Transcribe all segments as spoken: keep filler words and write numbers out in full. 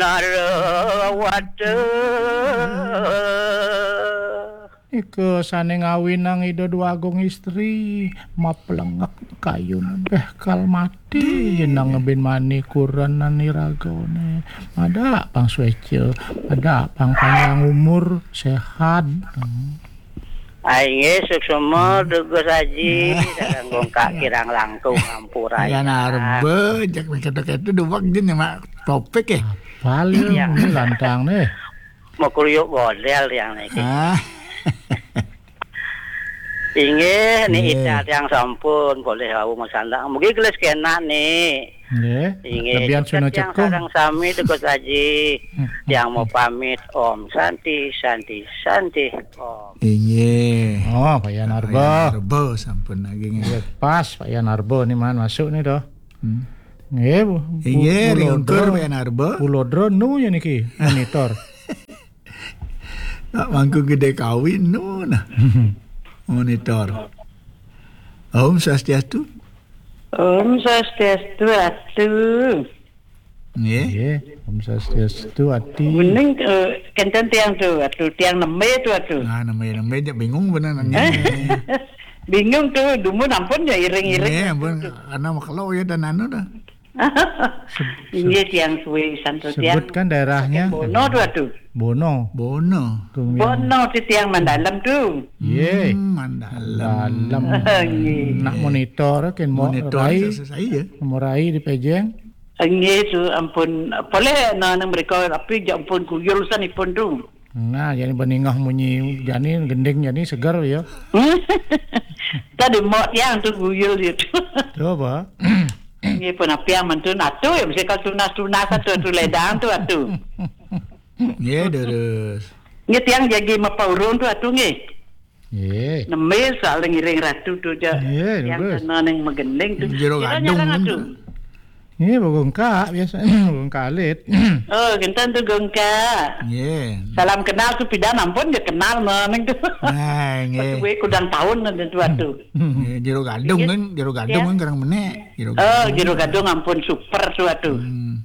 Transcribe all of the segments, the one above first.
Narwata. Ika sane ngawinang Ida Dwagung Istri, maplengek kayun, bekal mati, nang ngebin mani kurenan iragane. Ada pang sueca, ada pang panjang umur, sehat. Ai nggih, suksma, Dugus Aji, sareng Gongkak kirang langkung ampura. Yan arba, jak keto-keto duwag din, Mak, topik, eh. Apal ya, ini lantang nih. Mau kruyuk godel yang niki. Ah. Inggih, ni Nggih. Ita tiang sampun boleh wau masandang. Mugi gelis kenak ni. Nggih. Inggih, lebihan sukses suna tiang cekung. Sareng sami Dugus Aji. Hmm. Tiang mau pamit. Om Santi, Santi, Santi. Om. Inggih. Oh, Pak Yan Arba. Pak Yan Arba sampun lagi nggih. Nggih, pas Pak Yan Arba ni man masuk ni dah. Hmm. Nggih, Bu. Inggih, Pulo ringkur Dro. Pak Yan Arba. Pulo Dro nu ya niki monitor. Nak mangku gede kawin nu nah. Monitor. Om Swastiastu. Om Swastiastu, Atu. Nggih. Nggih, Om Swastiastu, Ati. Kuning, eh, kenten tiang tu, Atu, tiang neme tu, Atu. Nah, neme, neme, dia bingung benar nanya. Eh? Bingung tu, dumun ampun ya iring-iring. Nggih, ampun, karena makelo ya dan anu dah. Inggih, tiang suwe santo tiang. Sebutkan daerahnya. Bono tu, Atu. Bono. Bono. Bono ti tiang Mandalem tu. Ye. Hmm, Mandalem. Mandalem. Nggih. Nak monitor kan mau monitor rai. Saya. Mau rai di Pejeng. Nggih tu ampun. Boleh nah nang mereka tapi ja ampun kuyul sanipun tu. Nah, jadi beningah munyi jani gending jani seger ya. Tadi mau tiang tu kuyul dia tu. Tu apa? Nggih pun apiang mantun atu ya mesti kalau tunas-tunas atu atu ledang tu atu. Nggih terus. Nggih tiang jagi mapa urung tu atu nggih. Nggih. Nembe soal ngiring ratu tu ja. Nggih, tiang terus. Kena neng megending tu. Jero gadung nyarang kan atu. Nggih, begongkak biasa, begongkak alit. Oh, gentan tu gongkak. Nggih. Salam kenal tu pidan ampun dia kenal neng tu. Nah, nggih. Kudang tahun nanti tu atu. Nggih, jero gadung kan, jero gadung kan kerang menek. Jero gadung. Oh, jero gadung ampun super tu atu. Hmm.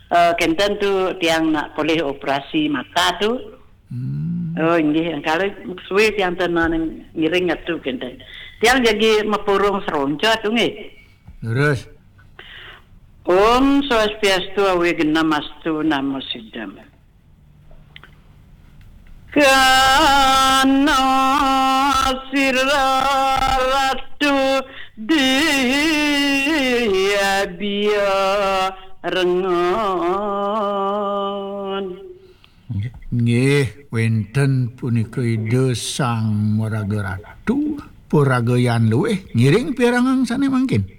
Eh, kenten tu tiang nak polih operasi mata tu. Hmm. Oh, inggih, kalau suwe tiang tenang ngiring atu kenten. Tiang jagi mapurung seronca tu nggih. Terus. Om Swastiastu, awe genam astu, namo sidam. Kana sira ratu dia bia rengon. Nggih, wenten punika Ida Sang Maraga Ratu, paragayan luwih ngiring pirangang sane mangkin.